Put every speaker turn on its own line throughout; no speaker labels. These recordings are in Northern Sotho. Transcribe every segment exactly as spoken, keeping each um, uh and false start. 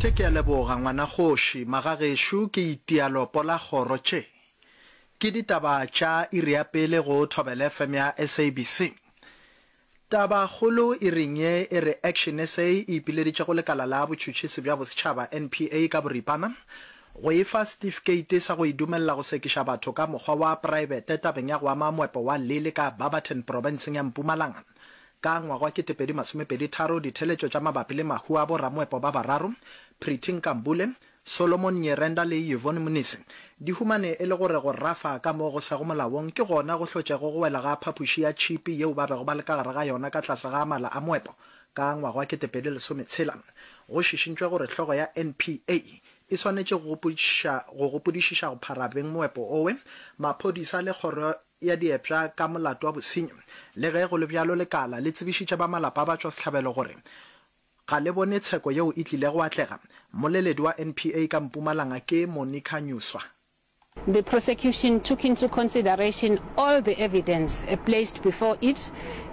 Tše ke a leboga ngwanakgoši, magagešo ke itia lopo la kgoro tše. Ke ditaba tša iri ya pele go Thobela F M ya S A B C. Tabakgolo iring ye e re Action S A e ipileditše go lekala la botšhotšhisi bja bosetšhaba N P A ka boripana go e fa setifikeiti sa go e dumelela go sekiša batho ka mokgwa wa praebete tabeng ya go ama moepo wa Lily ka Barberton profenseng ya Mpumalanga. Ka ngwaga wa ketepedi masomepedi tharo, ditheletšo tša mabapi le mahu a boramoepo ba bararo, Pretty Nkambule, Solomon Nyirenda le Yvonne Mnisi, di humane e le gore go rafa ka mo go sego molaong ke gona go hlotšego go wela ga phapoši ya tšhipi yeo ba bego ba le ka gare ga yona ka tlase ga mala a moepo ka ngwaga wa ketepedi lesometshela. Go šišintšwe gore hlogo ya N P A e swanetše go gopodišiša go phara beng moepo owe, maphodisa le kgoro ya diepša ka molato wa bosenyi. Le ge go le bjalo, lekala le tsebišitše ba malapa a batšwasehlabelo gore ga le bone tsheko yeo e tlile go atlega. Mmoleledi wa N P A ka Mpumalanga ke Monica Nyuswa.
The prosecution took into consideration all the evidence placed before it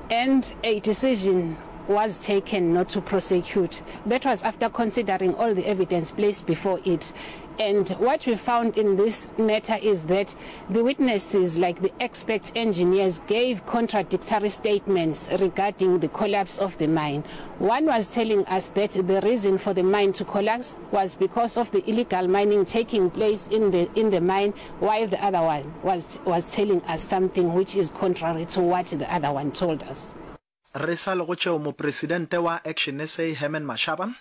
and a decision was taken not to prosecute. That was after considering all the evidence placed before it. And what we found in this matter is that the witnesses, like the expert engineers, gave contradictory statements regarding the collapse of the mine. One was telling us that the reason for the mine to collapse was because of the illegal mining taking place in the, in the mine, while the other one was, was telling us something which is contrary to what the other one told us.
Re sa le go tšeo, mopresidente wa Action S A Herman Mashaba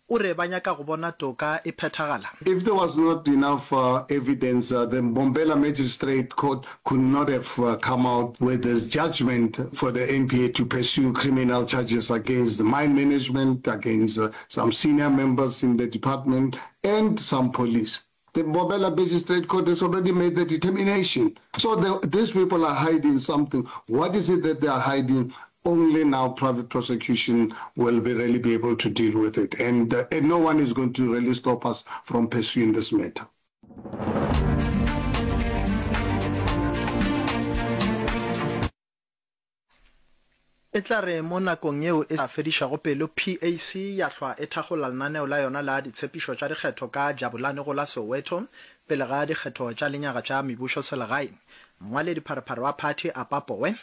o re ba nyaka go bona toka e phethagala.
If there was not enough uh, evidence, uh, the Mbombela Magistrate Court could not have uh, come out with this judgment for the N P A to pursue criminal charges against the mine management, against uh, some senior members in the department, and some police. The Mbombela Magistrate Court has already made the determination. So the, these people are hiding something. What is it that they are hiding? Only now private prosecution will be really be able to deal with it. And, uh, and no one is going to really stop us from pursuing this matter.
E tla re mo nakong yeo e sa fedišago pelo P A C ya hlwa e thakgola lenaneo la yona la ditshepišo tša dikgetho ka Jabulani go la Soweto pele ga dikgetho tša lenyaga tša mebušo selegae. Mongwaledipharephare wa phathi Apa Powe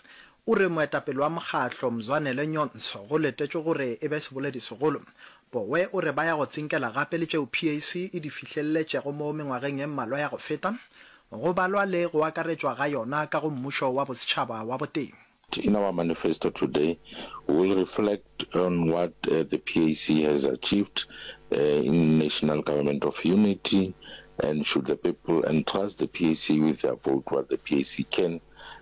o re moetapele wa mokgahlo Mzwanele Nyhontso go letetšwe gore e be seboledi segolo. Powe o re ba ya go tsinkela gape le tšeo P A C e di fihleletšego mo mengwageng e mmalwa ya go feta, go balwa le go akaretšwa ga yona ka go mmušo wa bosetšhaba wa boteng.
In our manifesto today, we will reflect on what uh, the P A C has achieved uh, in national government of unity, and should the people entrust the P A C with their vote, what the P A C can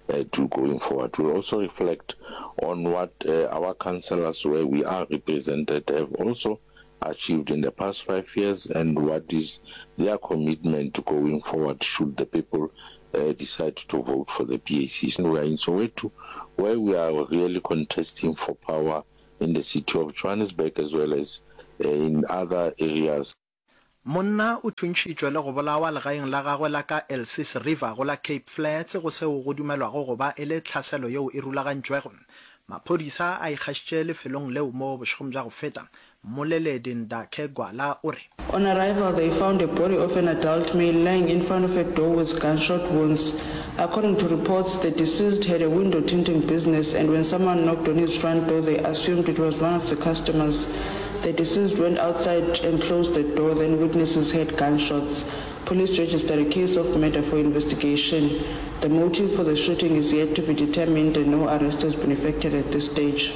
uh, do going forward. We'll also reflect on what uh, our councillors where we are represented have also achieved in the past five years and what is their commitment going forward should the people uh, decide to vote for the P A C. So we are in Soweto, where we are really contesting for power in the city of Johannesburg as well as uh, in other areas.
Monna o thuntšhitšwe le go bolawa legaeng la gagwe la ka Elsies River go la Cape Flats go seo go dumelwago go ba e le tlhaselo yeo e rulagantšwego. Maphodisa a ikgašitše lefelong leo mo bošegong bja go feta. Mmoleledi Ndakhe Gwala o re.
On arrival, they found a body of an adult male lying in front of a door with gunshot wounds. According to reports, the deceased had a window tinting business, and when someone knocked on his front door, they assumed it was one of the customers. The deceased went outside and closed the door, then witnesses heard gunshots. Police registered a case of murder for investigation. The motive for the shooting is yet to be determined and no arrest has been effected at this stage.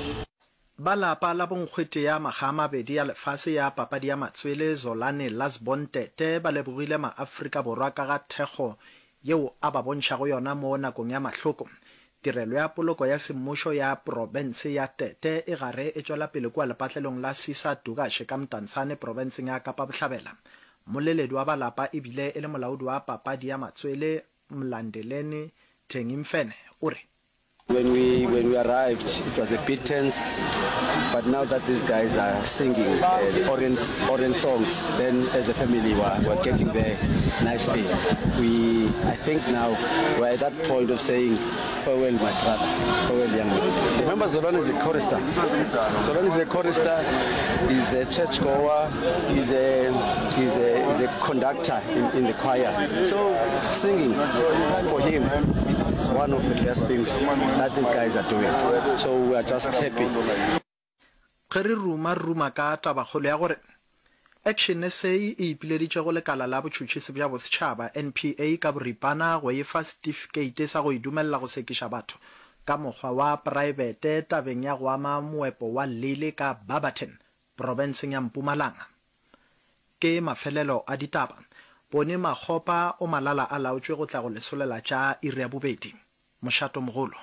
Ba lapa la bonkgwete ya makga a mabedi ya lefase ya papadi ya matswele Zolani Lasbon Tete ba lebogile maAfrika Borwa ka ga thekgo yeo a ba bontšhago yona mo nakong ya mahloko. Tirelo ya poloko ya semmušo ya profense ya Tete e gare e tšwela pele kua lepatlelong la Sisa Dukashe ka Mdantsane profenseng ya Kapa Bohlabela. Mmoleledi wa ba lapa ebile e le molaodi wa papadi ya matswele Mlandeleni Tengimfene o re.
When we when we arrived it was a bit tense but now that these guys are singing uh, the Orient, Orient songs then as a family we're, we're getting there nicely. We I think now we're at that point of saying farewell my brother, farewell young man. Remember Zolani is a chorister. Zolani is a chorister, he's a churchgoer, he's a he's a he's a conductor in, in the choir. So singing for him it's one of the best things that these guys are doing. So we are just happy.
Ge re ruma, re ruma ka tabakgolo ya gore Action SA e ipileditše go Lekala la Botšhotšhisi bja Bosetšhaba, N P A, ka boripana go e fa setifikeite sa go e dumelela go sekiša batho ka mokgwa wa praebete tabeng ya go ama moepo wa Lily ka Barberton, profenseng ya Mpumalanga. Ke mafelelo a ditaba. Boni Makgopa o malala a laotšwe go tla go lesolela tša iri ya bobedi. Mošatomogolo.